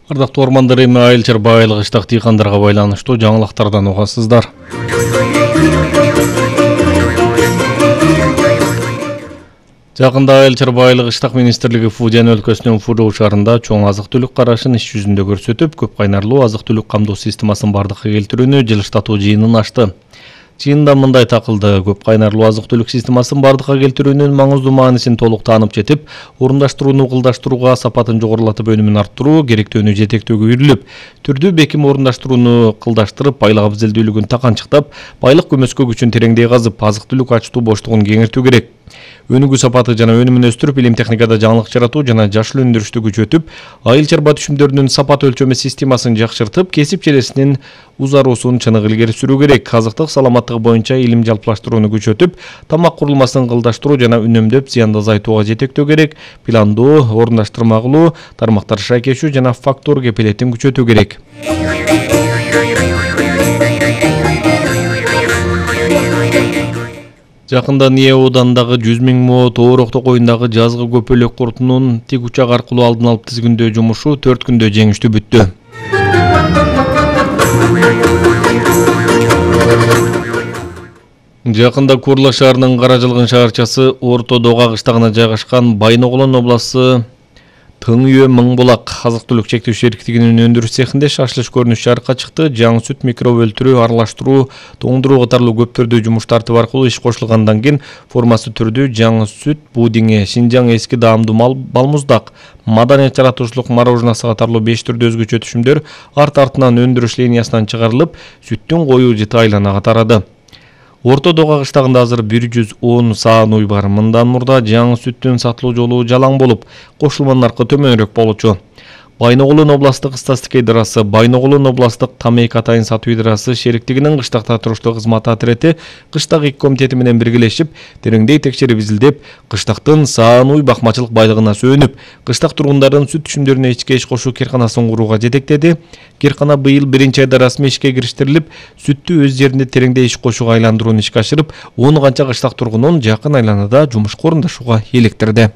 Ардактуу ормандар эми Айыл Чарба айылы кыштак дыйкандарга байланыштуу жаңылыктардан угасыздар. Жакында Айыл Чарба айылы кыштак министрлиги Фудиян өлкөсүнүн Фуру шаарында чоң азык-түлүк карашын иш жүзүндө көрсөтүп, көп кайнарлуу азык-түлүк камдоо системасын бардыкка келтирүүнү жылыштатуу жыйынын ачты. Чыйында мындай такылды: көп кайнарлуу азык-түлүк системасын бардыкка келтирүүнүн маңыздуу маанисин толук таанып жетип, орундаштырууну кылдаштырууга, сапатын жогорулатып өнүмүн арттыруу, керектүүнү жетектөөгө үйрүлүп, түрдүү беким орундаштырууну кылдаштырып, байлык абзелдүүлүгүн таканчыктап, байлык көмөскө күчүн тереңдей казып, азык-түлүк ачтуу боштугун кеңейтүү керек. Өнүгүү сапаты жана өнүмүн өстүрүп, илим техникада жаңылык жаратуу жана жашыл өндүрүштү күчөтүп, айыл чарба түшүмдөрүнүн сапат өлчөмө системасын жакшыртып, кесип ченесинин узаруусун чыныгы илгери сүрүү керек. Азыктык саламаттыгы боюнча илим жалпылаштырууну күчөтүп, тамак курулмасын кылдаштыруу жана үнөмдөп, зыянды азайтууга жетектөө керек. Пландоо, орундаштырмалуу тармактар шайкешүү жана фактор кепилетин күчөтүү керек. Жакында Ния оодандагы 100 000 мо, Тоорокто коюндагы жазгы көпөлөк куртунун тик учак аркылуу алдын алып тизгиндөө жумушу 4 күндө жеңиштүү бүттү. Жакында Курла шаарынын Каражалгын шаарчасы Орто Дога кыштагына жайгашкан Байноголон областы Тыңүйө Мыңбулак азык-түлүк чектөө шериктигинин өндүрүш цехинде шашылыш көрүнүш жарыкка чыкты. Жаңы сүт, микроб өлтүрүү, аралаштыруу, тоңдуруу катарлуу көп түрдүү жумуш тартып аркылуу иш кошулгандан кийин формасы түрдүү жаңы сүт, пудиңи, Шинжаң эски даамдуу балмуздак, маданият жаратуучулук мороженасы катарлуу 5 түрдүү өзгөчө түшүмдөр арт-артынан өндүрүш линиясынан чыгарылып, сүттүн коюу жыты айланага тарады. Орто Дога кыштагында азыр 110 саан уй бар. Мындан мурда жаңы сүттүн сатылуу жолу жалаң болуп, кошулманын наркы төмөнүрөөк болчу. Байноголон областык Стастик ыйдарасы, Байноголон областык Тамек атайын сатуу ыйдарасы шериктигинин кыштакта туруштуу кызмат отрети кыштак ик комитети менен биргелешип, тереңдей текшерип изилдеп, кыштактын саан уй бакмачылык байлыгына сөөнүп, кыштак тургундардын сүт түшүмдөрүнө ичке иш кошуу кирканасын курууга жетектеди. Киркана быйыл 1-айда расмий ишке кириштирилип, сүттү өз жеринде тереңдей иш кошууга айландырууну ишке ашырып, 10 канча кыштак тургунун жакын айланада жумушка орундашууга электирди.